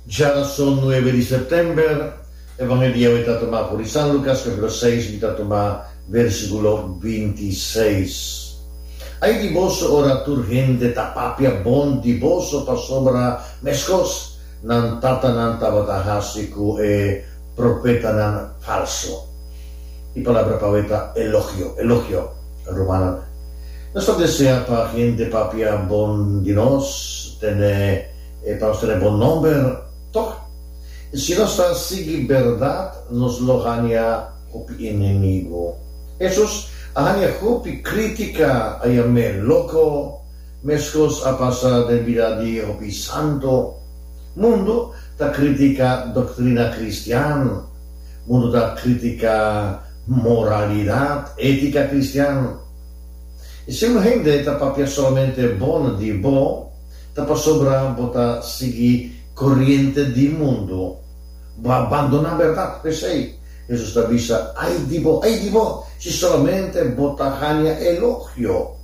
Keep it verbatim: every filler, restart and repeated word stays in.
Djárason nuebe di sèptèmber, Evangelio ta tumá for di San Lukas, kapítulo seis, mi ta tuma versíkulo bintiseis. Ai di boso ora tur hende ta papia bon di boso, pasobra meskos nan tatanan tabata hasi ku e profetanan falsu. E palabra pa ta elogio, elogio, rumannan. Nos ta deseá pa hende papia bon di nos, tene, eh, pa nos tene bon nòmber, toch? Si nos ta sigui bèrdat, nos lo haña hopi enemigu. Hesus a haña hopi krítika, a yam'é loko, meskos a pasa den bida di hopi santu. Mundu ta kritiká doktrina kristian, mundu ta kritiká moralidat, étika kristian. I si un hende ta papia solamente bon di bo, ta pasobra bo ta sigui koriente di mundu. Bo a bandoná bèrdat, p'esei. Hesus ta bisa: "Ai di bo, ai di bo, si solamente bo ta haña elogio."